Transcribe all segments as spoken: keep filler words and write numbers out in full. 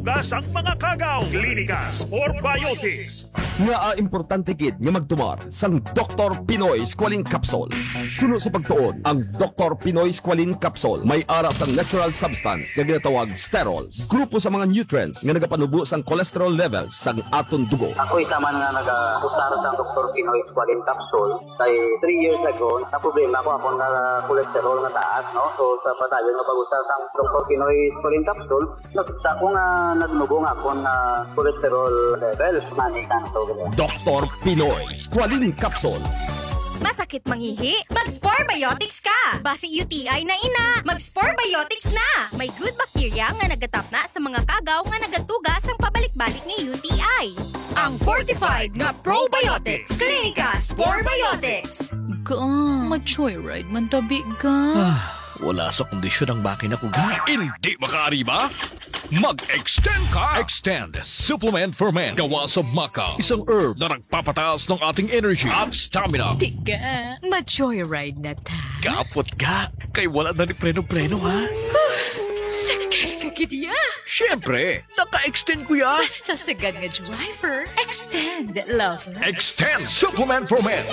Gas ang mga kagaw. Klinika Spore Biotics. Nga, ah, importante gid nga magtumar sang Doktor Pinoy Squalene Capsule. Suno sa pagtuon, ang Doktor Pinoy Squalene Capsule may ara sang natural substance nga ginatawag sterols, grupo sa mga nutrients nga nagapanubo sang cholesterol levels sang aton dugo. Ako isa man nga nag-usar sang Doktor Pinoy Squalene Capsule, kay three years ago, na problema ko akong nga cholesterol nga taas, no? So, sa padayon nga pag-usar sang Doktor Pinoy Squalene Capsule, nakita ko nga nagnubo nga akong, ah, cholesterol level. Mani kanto, ganyan. Doktor Pinoy Squalene Capsule. Masakit mangihi? Mag-Spore Biotics ka! Basi U T I na ina, mag-Spore Biotics na! May good bacteria nga nagatapna sa mga kagaw nga nagatuga sang pabalik-balik nga U T I. Ang fortified nga probiotics, Klinika Spore Biotics. Ga, ma-joyride man tabi, ga. Ah, wala sa kondisyon ang makina ko, ga. Hindi makaari ba? Mag-extend ka! Extend Supplement for Men. Gawa sa maca, isang herb na nagpapataas ng ating energy at stamina. Tiga, ma-joyride na ta. Kapot ka, kay wala na ni preno-preno, ha? Sakay ka gid ya. Siyempre, naka-extend ko ya. Basta sagad nga driver, extend, lover. Extend Supplement for Men.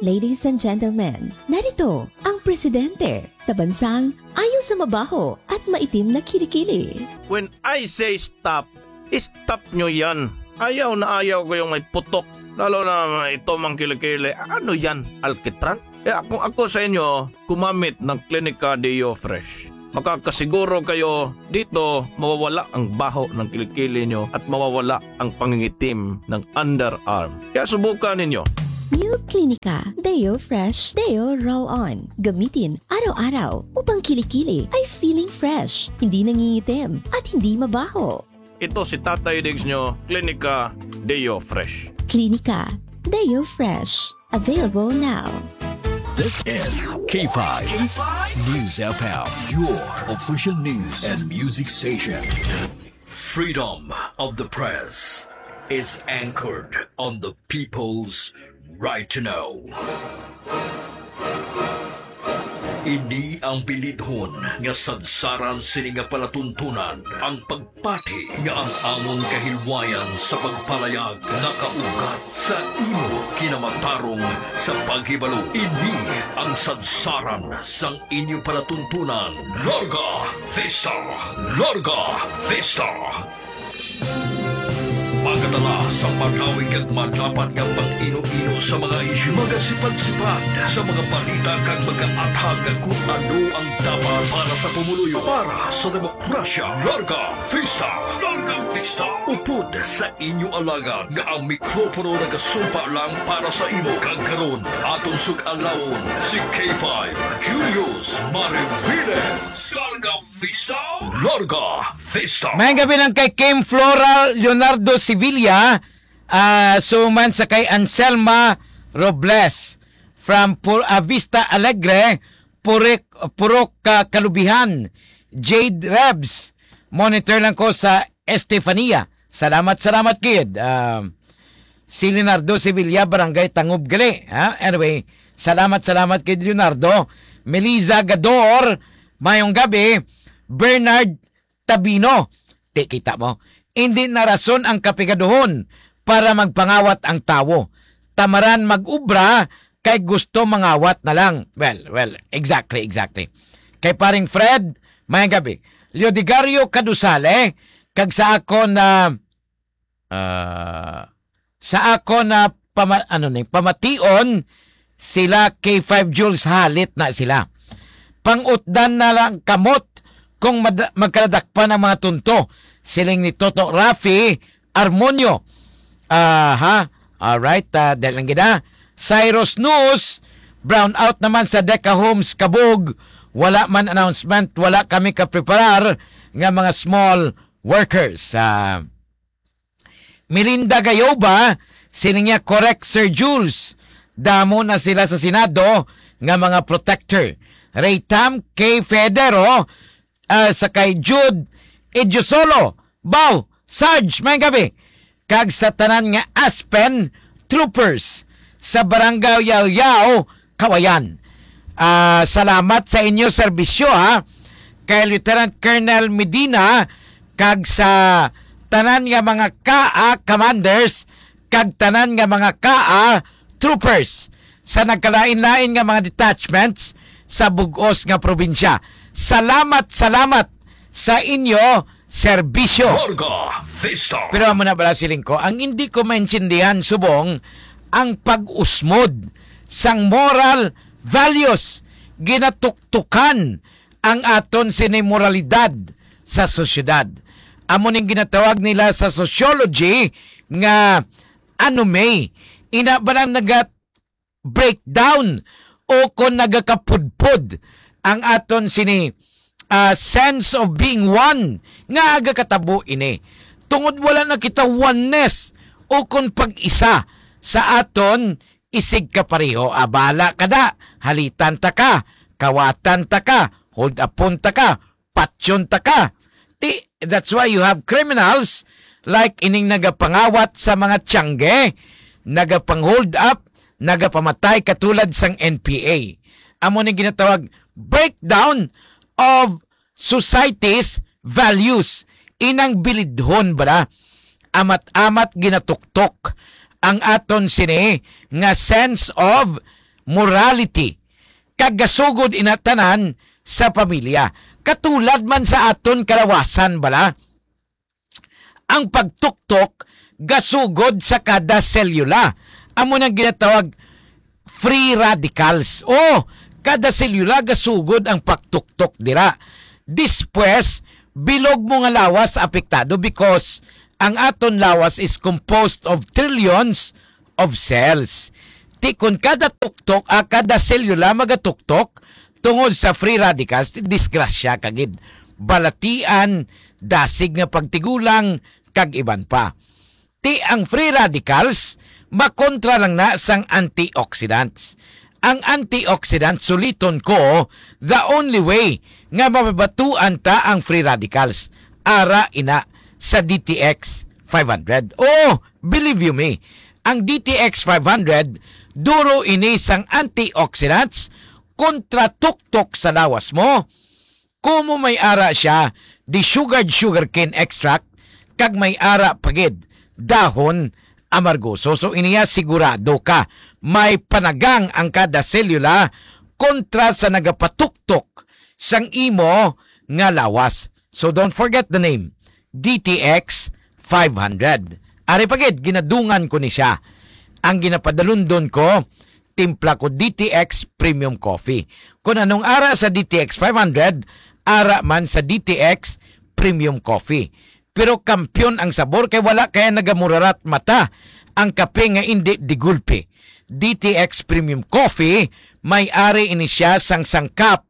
Ladies and gentlemen, narito ang presidente sa bansang ayaw sa mabaho at maitim na kilikili. When I say stop, stop nyo yan. Ayaw na ayaw ko yung may putok. Lalo na ito mang kilikili. Ano yan? Alkitran? Kaya kung ako sa inyo, gumamit ng Klinika Deo Fresh. Makakasiguro kayo dito mawawala ang baho ng kilikili nyo at mawawala ang pangingitim ng underarm. Kaya subukan ninyo. New Klinika Deo Fresh Deo Roll-On. Gamitin araw-araw upang kilikili ay feeling fresh, hindi nangingitim, at hindi mabaho. Ito si Tatay Diggs nyo, Klinika Deo Fresh. Klinika Deo Fresh. Available now. This is K five News F M, your official news and music station. Freedom of the press is anchored on the people's right to know. Ini ang bilidhon nga sadsaran sini nga palatuntunan, ang pagpati nga ang amon kahilwayan sa pagpalayag nakaugat sa imo kinamatarong sa paghibalo. Ini ang sadsaran sang inyo palatuntunan. Larga Vista! Larga Vista! Magadala sa makawig kag madapat nga pang-ino-ino sa mga isyu, magasipad-sipad sa mga balita kag magaathag kung ano ang dapat para sa pumuluyo, para sa demokrasya. Larga Vista! Larga Vista! Upod sa inyo alagad nga ang mikropono nagasumpa lang para sa imo. Kag karon, aton sug-alawon si K five Julius Mariviles. Larga Vista! Larga Vista! Maayong gabi lang kay Kim Floral Leonardo Sevilla, ah, suman sa kay Anselma Robles from Pur-, ah, Vista Alegre, Purok, Purok, ah, Kalubihan, Jade Rebs. Monitor lang ko sa Estefania. Salamat, salamat, kid. Ah, si Leonardo Sevilla, Barangay Tangub gali, ha? Anyway, salamat, salamat kid Leonardo. Melissa Gador, mayong gabi. Bernard Tabino, ti kita mo, hindi na rason ang kapigaduhon para magpangawat ang tawo. Tamaran mag-ubra kay gusto mangawat na lang. Well, well, exactly, exactly. Kay paring Fred, mayang gabi. Leodegario Kadusale, kag sa akon na, ah, sa akon na pama-, ano ni, pamation, sila K five Jules, halit na sila. Pangutdan na lang kamot kung mad-, magkaladakpan ang mga tunto, siling ni Toto Rafi Armonio. Aha. Alright, ah, dahil lang gid, ah. Cyrus Nus, brown out naman sa Deca Homes Kabug. Wala man announcement, wala kami kapreparar nga mga small workers. Ah, Melinda Gayoba, siling niya, "Correct, Sir Jules. Damo na sila sa Senado nga mga protector." Ray Tam K Federo, ah, sa kay Jude Idiosolo. Baw, Sarge, mayang gabi. Kag sa tanan nga Aspen Troopers sa Barangay Yaw-Yaw, Kawayan. Ah, salamat sa inyo serbisyo, ha. Kay Lieutenant Colonel Medina, kag sa tanan nga mga kaa commanders kag tanan nga mga kaa troopers sa nagkalain-lain nga mga detachments sa bug-os nga probinsya. Salamat, salamat sa inyo serbisyo. Larga Vista. Pero amo na bala siling ko, ang hindi ko maintindihan subong ang pag-usmod sang moral values. Ginatuktukan ang aton sini moralidad sa sosyedad. Amo ning ginatawag nila sa sociology nga anomie. Ina ba lang naga-breakdown o kon nagakapudpod ang aton sini, ah, sense of being one nga agakatabo ini? Tungod wala na kita oneness o kon pag-isa sa aton isig kapareho. Abala ka da, halitan ta ka, kawatan ta ka, hold upon ta ka, patyon ta ka. Ti, that's why you have criminals like ining nagapangawat sa mga tiyangge, nagapang-hold up, nagapamatay katulad sang N P A. Amo ni ginatawag breakdown of society's values. Inang bilidhon, bala, amat-amat ginatuktok ang aton sini nga sense of morality, kag gasugod ina tanan sa pamilya. Katulad man sa aton kalawasan, bala, ang pagtuktok gasugod sa kada selula. Amo nang ginatawag free radicals. O, kada selula gasugod ang pagtuktok dira. Dispues, bilog mo nga lawas apektado because ang aton lawas is composed of trillions of cells. Ti kon kada tuktok, ah, kada selula magatuktok tungod sa free radicals, ti disgrasya ka gid. Balatian, dasig nga pagtigulang, kag iban pa. Ti ang free radicals makontra lang na sang antioxidants. Ang antioxidants, suliton ko, the only way nga mababatuan ta ang free radicals, ara ina sa D T X five hundred. Oh, believe you me, ang D T X five hundred, duro ini sang antioxidants kontra tuktok sa lawas mo. Kumo may ara sia di sugared sugarcane extract, kag may ara pa gid dahon amargoso. So, iniya sigurado ka may panagang ang kada selula kontra sa nagapatuktok sang imo nga lawas. So, don't forget the name, D T X five hundred. Ari pa gid, ginadungan ko ni siya. Ang ginapadalundon ko, timpla ko D T X Premium Coffee. Kung anong ara sa D T X five hundred, ara man sa D T X Premium Coffee. Pero kampiyon ang sabor kay wala kaya nagamurarat mata ang kape nga indi digulpi. D T X Premium Coffee, may ari ini siya sang sangkap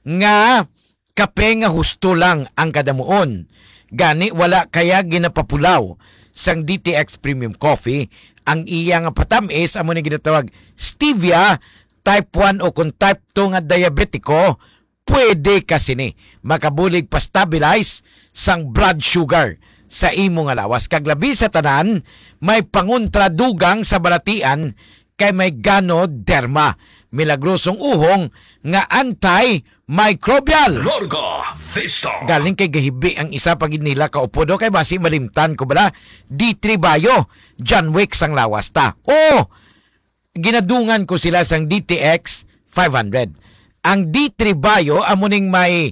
nga kape nga husto lang ang kadamuon. Gani, wala kaya ginapapulaw sang D T X Premium Coffee. Ang iya nga patamis amo ni ginatawag stevia. Type one o kung type two nga diabetiko, pwede ka sini. Makabulig pa-stabilize sang blood sugar sa imo nga lawas. Kag labi sa tanan, may pangontra dugang sa balatian kay may Ganoderma, milagrosong uhong nga antimicrobial. Larga Vista. Galing kay gahibi ang isa pa gid nila ka upod, o kay basi malimtan ko bala, D three Bio, John Wick sang lawas ta. Oh, ginadungan ko sila sang D T X five hundred. Ang D three Bio amo ning may,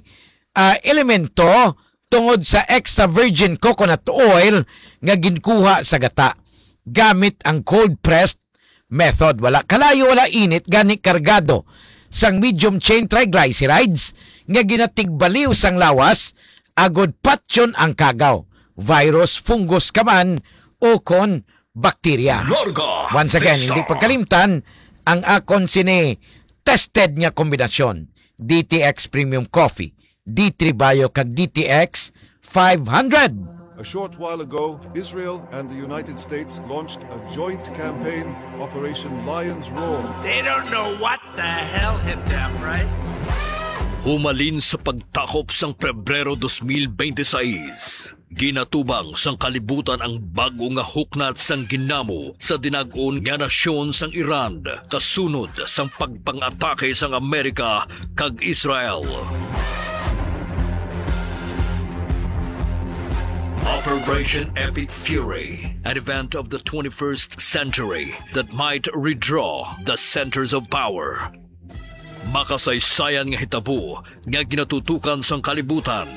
ah, elemento tungod sa extra virgin coconut oil nga ginkuha sa gata gamit ang cold pressed method. Wala kalayo, wala init, gani kargado sang medium chain triglycerides nga ginatigbaliw sang lawas agod patyon ang kagaw, virus, fungus ka man, o kon bakterya. Larga Once again, Vista. Hindi pagkalimtan ang akon sini tested nga kombinasyon, D T X Premium Coffee, D three Bio kag D T X five hundred. A short while ago, Israel and the United States launched a joint campaign, Operation Lion's Roar. They don't know what the hell hit them, right? Humalin sa pagtakop sang Pebrero dos mil bente seis, ginatubang sang kalibutan ang bag-o nga huknat sang ginamo sa dinag-on nga nasyon sang Iran, kasunod sang pagpang-atake sang Amerika kag Israel. Operation Epic Fury, an event of the twenty-first century that might redraw the centers of power. Makasaysayan nga hitabo nga ginatutukan sang kalibutan.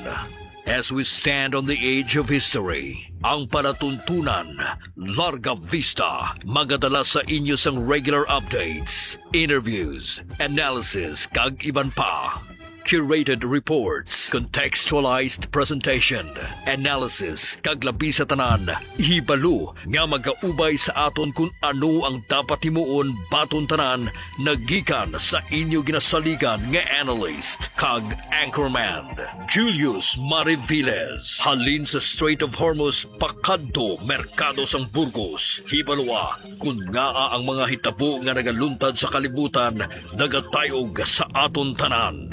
As we stand on the edge of history, ang palatuntunan, Larga Vista, magadala sa inyo sang regular updates, interviews, analysis, kag iban pa. Curated reports, contextualized presentation, analysis, kag labi sa tanan, hibalo nga magaubay sa aton kun ano ang dapat himuon baton tanan nagikan sa inyo ginasaligan nga analyst kag anchorman, Julius Mariviles. Halin sa Strait of Hormuz pakadto Merkado sang Burgos, hibaloa kun ngaa ang mga hitabo nga nagaluntad sa kalibutan nagatayog sa aton tanan.